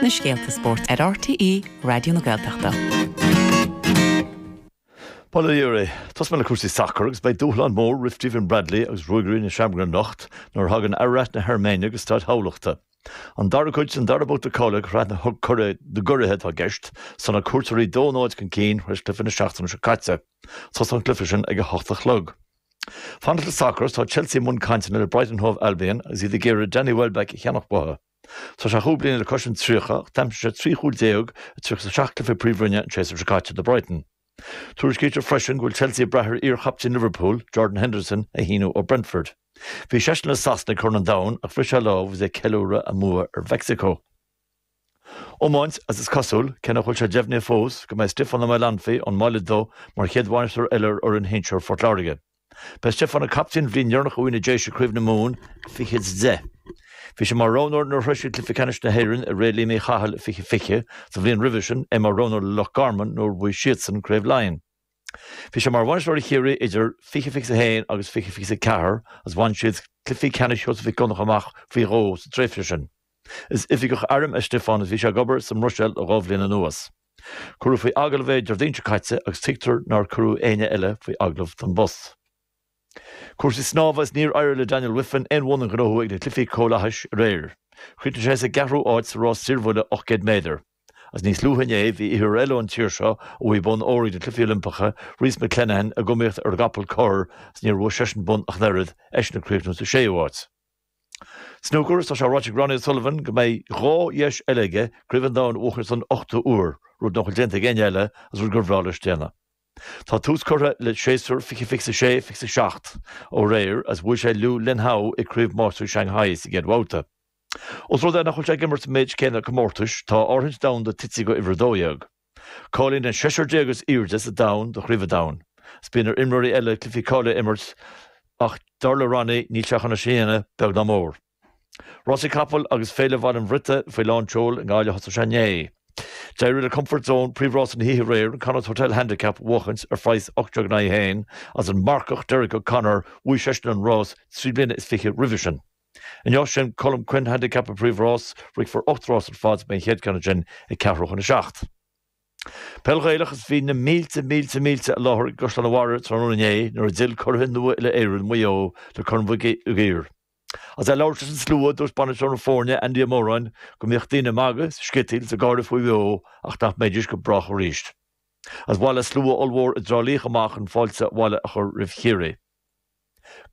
na scéalta spóirt ar RTÉ Raidió na Gaeltachta. Bail ó Dhia oraibh. Tosóidh mé le cúrsaí sacair agus beidh dúshlán mór roimh Stephen Bradley agus Ruagairí na Seamróige anocht nuair a thagann Ararat na hAirméine go Staid Thamhlachta. An dara cuid den dara babhta cáilithe do Shraith na gCuraithe atá i gceist, 's tá na cuairteoirí 2-0 chun cinn tar éis cluiche na seachtaine seo caite. Tosóidh an cluiche sin ag 8 a chlog. Fanacht le sacar, tá Chelsea i mbun cainteanna le Brighton Hove Albion agus iad ag iarraidh Danny Welbeck a cheannach uathu. Tá sé chúig bliana le cois an 30 ach d'aimsigh sé 13 chúl i 37 cluiche Príomhroinne an séasúr seo caite do Brighton. Tuairiscítear freisin go bhfuil Chelsea ag brath ar iar-chaptaen Liverpool, Jordan Henderson, a shíniú ó Brentford. Bhí seisean le Sasana ag Corn an Domhain ach bhris sé a lámh agus é ag ceiliúradh a mbua ar Mheicsiceo. Iomáint, Agus is cosúil, cé nach bhfuil sé deimhnithe fós, go mbeidh Stiofán Ó Maolanfaidh ón mBaile Dubh mar chéad bhainisteoir eile ar fhoireann shinsir Phort Láirge. B'é Stiofán an captaen an bhliain dheireanach a bhuaigh na Déise Craobh na Mumhan i 2010. Bhí sé mar roghnóir nuair a shroich siad cluiche ceannais na hÉireann i ré Liam Uí Chathail i 2020, sa bhliain roimhe sin, é mar roghnóir le Loch Garman nuair a bhuaigh siadsan Craobh Laighean. Bhí sé mar bhainisteoir ar Chiarraí idir 2021 agus 2024 agus bhain siad cluichí ceannais Sheosaimh Mhic Dhonncha amach faoi dhó sa tréimhse sin. Is oifigeach airm é Stiofán agus bhí sé ag obair sa mBruiséil le dhá bhliain anuas. Cuireadh faoi agallamh é Déardaoin seo caite agus tuigtear nár cuireadh éinne eile faoi agallamh don bpost. Cúrsaí snámha Is níor éirigh le Daniel Wiffen aon bhonn a ghnóthú ag na Cluichí Comhlathais aréir. Chríochnaigh sé sa gceathrú háit sa rás saorbhuille 800 méadar. Agus níos luaithe inné bhí oitheoir eile ón tír seo a bhuaigh bonn óir ag na Cluichí Oilimpeacha, Rhys McClenaghan, ag iomaíocht ar an gcapall corr agus níor bhuaigh seisean bonn ach an oiread, eisean ag críochnú sa séú háit. Snúcar, Tá sé ráite ag Ronnie O'Sullivan go mbeidh dhá dheis eile aige Craobh an Domhain a bhuachaint don ochtú huair, rud nach bhfuil déanta ag éinne eile agus rud gur bhreá leis déanamh. Tá tús curtha le séasúr 2026, 27 ó aréir agus bhuail sé Liu Linhao i gCraobh Máistrí Shanghai sa gcéad bhabhta. Ós rud é nach bhfuil sé ag imirt an méid céanna comórtais, tá a áirithint domhanda tite go uimhir 12. Cáilíonn an seisear déag is airde sa domhan do Chraobh an Domhain. Is bíonn ar imreoirí eile cluichí cáilithe a imirt ach dar le Ronnie níl sé chun é sin a dhéanamh, beag ná mór. Rásaí capall agus Féile Bhaile an Bhriota faoi lán tseoil i nGaillimh thosaigh sé inné. D'éirigh le Comfort Zone príomhrása na hoíche aréir, an Connacht Hotel Handicap, a bhuachaint ar phraghas 18 in aghaidh 1 agus an marcach Derek O'Connor, bhuaigh seisean an rás trí bliana is fiche roimhe sin. Inniu sin Colm Quinn Handicap an príomhrás, rithfear 8 rás ar fad, beidh an chéad ceann ansin ag ceathrú chun a 7. Peil Ghaelach is bhí na mílte, mílte, mílte i láthair i gCaisleán an Bharraigh tráthnóna inné nuair a d'fhill curaithe nua uile-Éireann, Maigh Eo, le Corn Mhig Uidhir. Agus é ag labhairt leis an slua, dúirt bainisteoir na foirne, Andy Ó Móráin, go mbíodh daoine ag magadh, is ag sciotaíl is ag gáire faoi Mhaigh Eo ach nach mbeidís go brách arís. Agus bhailigh slua ollmhór i dTrá Lí chomh maith chun fáilte abhaile a chur roimh Chiarraí.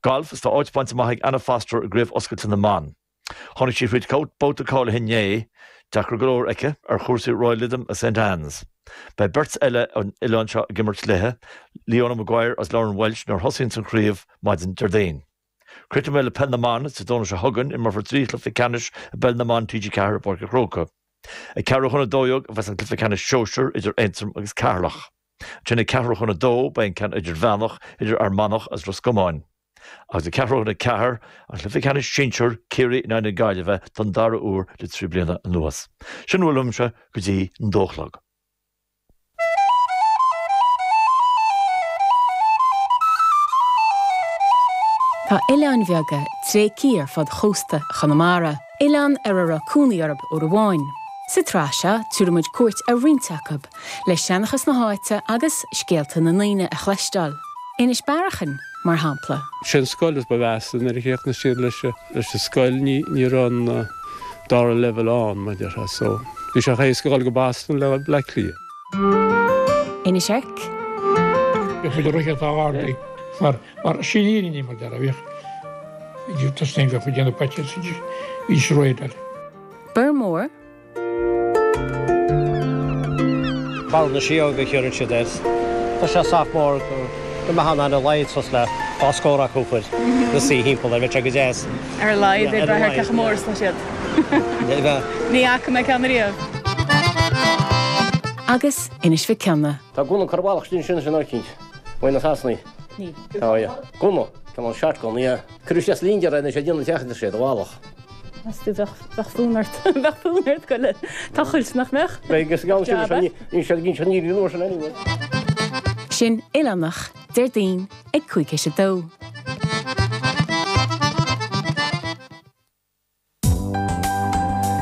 Galf, Is tá áit bainte amach ag Anna Foster i gCraobh Oscailte na mBan. Tháinig sí fríd babhta cáilithe inné, deacair go leor aici, ar chúrsaí Royal Lytham agus St Anne's. Beidh beirt eile ón oileán seo ag imirt léi, Leona Maguire agus Lauren Walsh nuair a thosaíonns an chraobh maidin Déardaoin. Críochnóidh mé le Peil na mBan, Dé Domhnaigh seo chugainn, imreofar 3 chluiche ceannais i bPeil na mBan TG4 i bPáirc an Chrócaigh. Ag ceathrú chun 12 a bheas an cluiche ceannais sóisir idir Aontroim agus Ceatharlach. Ansin ag ceathrú chun a dó beidh an ceann idirmheánach idir Fhear Manach agus Ros Comáin. Agus ag ceathrú chun a ceathair, an cluiche ceannais sinsir, Ciarraí in aghaidh na Gaillimhe don dara huair le 3 bliana anuas. Sin a bhfuil uaimse go dtí an dó a chlog. Tá oileáin bheaga tréigthe ar fud chósta Chonamara, oileáin ar a raibh cónaí orthu uair amháin. Sa tsraith seo, tabharfaidh muid cuairt ar roinnt acu, le seanchas na háite agus scéalta na ndaoine a chloisteáil. Inis Bearachain, mar shampla. Sé an scoil is ba mheasa nuair a chríochnaigh siad leis an scoil ní ní raibh an dara leibhéal ann mar déarfá so bhí sé chomh héasca dhul go Boston le Bleá Cliath. Inis Oirc. Bhíodh muid ag rith atá ard mar mar sin fhírinne mar déarfá bhíodh bhí tosnaíonn bheadh muid ag déanamh paitear bhí sroid eile. Biormór. Barra na Síóga a chuireann siad air. Tá sé sách mór go mbeadh ann ar a laghad suas le dhá scór acu fuil na suí thimpeall air, bheadh sé go deas. Ar a laghad, ag brath ar cé chomh mór is atá siad. Ní fhaca mé ceann ariamh. Agus Inis Mhic Cionnaith. Tá gunna curtha i bhfalach istigh ansin sin eicínt. Uaidh na Sasanaigh. Tá, yeah. Gunna. Cineál shotgun, yeah. Cuireadh isteach slinger é anois ag déanamh teach idir siad i bhfalach. Meas tú bheadh bheadh fonn ort bheadh fonn ort goil ag tochailt nach mbeadh? Beidh agus gabhann siad leis níl siad ag inseacht ní an uair sin anyway. Sin Oileánach, Déardaoin ag 1:55.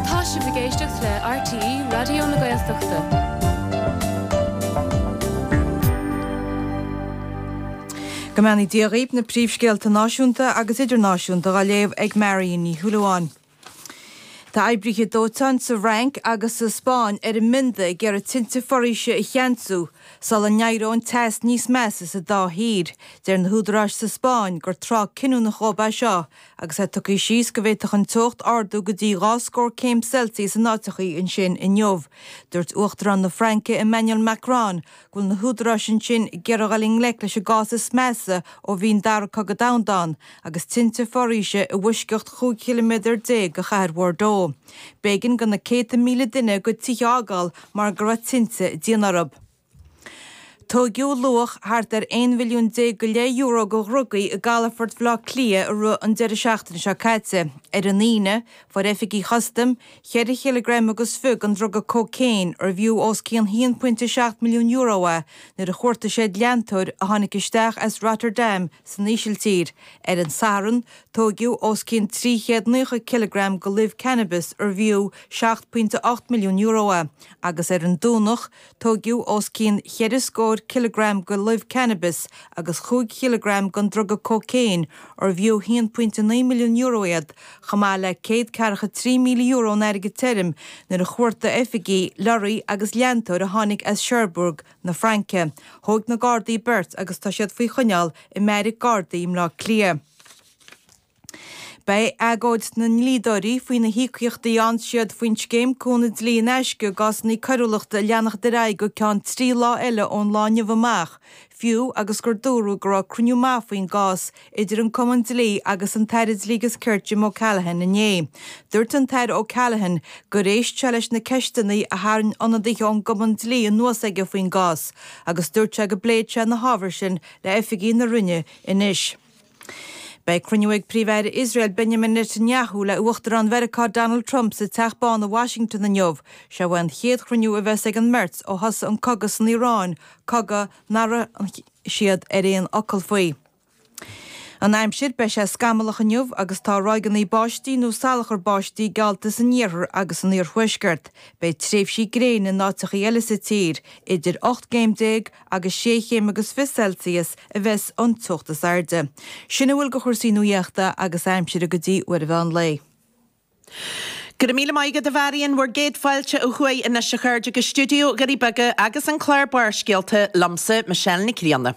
Tá sibh ag éisteacht. éisteacht le RTÉ Raidió na Gaeltachta. Go mbeannaí Dia dhaoibh, na príomhscéalta náisiúnta agus idirnáisiúnta dhá léamh ag Marion Ní Shúilleabháin. Tá oibrithe dóiteáin sa Fhrainc agus sa Spáinn ar a mbionda ag iarraidh tinte foraoise a cheansú sula n-éireoidh an teas níos measa sa dá thír. Deir na húdaráis sa Spáinn gur tráth cinniúnach dhóibh é seo agus é tugtha síos go bhféadfadh an teocht ardú go dtí 2 scór céim Celsius in áiteachaí ansin inniu. Dúirt Uachtarán na Fraince Emmanuel Macron go bhfuil na húdaráis ansin ag iarraidh dul i ngleic leis an gcás is measa ó bhí an Dara Cogadh Domhanda ann, agus tinte foraoise i bhfoisceacht 15 chiliméadar de chathair Bhordeaux. B'éigean do na céadta míle duine a gcuid tithe a fhágáil mar go raibh tinte ag déanamh orthu. Tóigeadh luach thart ar 11 mhilliún go leith euro de dhrugaí i gcalafort Bhaile Átha Cliath i rith an deireadh seachtaine seo caite. Ar an Aoine, fuair oifigigh chustaim Cheithre chileagram agus fiche den druga cócaon, arbh fhiú os cionn €1.7 milliún é, nuair a chuartaigh siad leantóir a tháinig isteach as Rotterdam san Ísiltír. Ar an Satharn, tóigeadh os cionn 390 cileagram de luibh cannabis arbh fhiú €7.8 milliún é, agus ar an Domhnach, Tóigeadh os cionn cheithre scór cileagram de luibh cannabis agus chúig chileagram den druga cócaon, arbh fhiú €1.9 milliún iad, chomh maith le €143,000 in airgead tirim, nuair a chuartaigh oifigigh lorraí agus leantóir a tháinig as Cherbourg na Fraince. Thóig na Gardaí beirt agus tá siad faoi choinneáil i mbeairic Gardaí i mBleá Cliath. Beidh agóid na ndlíodóirí faoi na híocaíochtaí a fhaigheann siad faoin scéim cúnamh dlí in aisce i gcásanna coiriúlachta ag leanacht ar aghaidh go ceann 3 lá eile ón lá inniu amach, fiú agus gur dúradh go raibh cruinniú maith faoin gcás idir an Cumann Dlí agus an tAire Dlí agus Cirt Jim O'Callaghan inné. Dúirt an tAire O'Callaghan gur éist sé leis na ceisteanna a tharraing ionadaithe ón gCumann Dlí anuas aige faoin gcás agus dúirt sé go bpléifidh sé na hábhair sin le oifigigh na Roinne anois. Beidh cruinniú ag Príomh-Aire Iosrael Benjamin Netanyahu le Uachtarán Mheiriceá Donald Trump sa Teach Bán i Washington inniu. Seo é an chéad chruinniú a bheas ag an mbeirt ó thosaigh an cogadh san Iaráin, cogadh nach raibh siad ar aon fhocal faoi. An aimsir, Beidh sé scamallach inniu agus tá ráigeanna báistí nó salachar báistí geallta san iarthar agus san iarthuaisceart. Beidh tréimhsí gréine in áiteachaí eile sa tír, idir 18 gcéim agus sé chéim agus 20 Celsius a bheas an teocht is airde. Sin a bhfuil de chúrsaí nuaíochta agus aimsire go dtí uair an mheán lae. Go raibh míle maith agat a Mharion, bhur gcéad fáilte ó thuaidh anois a chairde go stiúideo Dhoirí Beaga agus an clár Barrscéalta liomsa, Michelle Nic Grianna.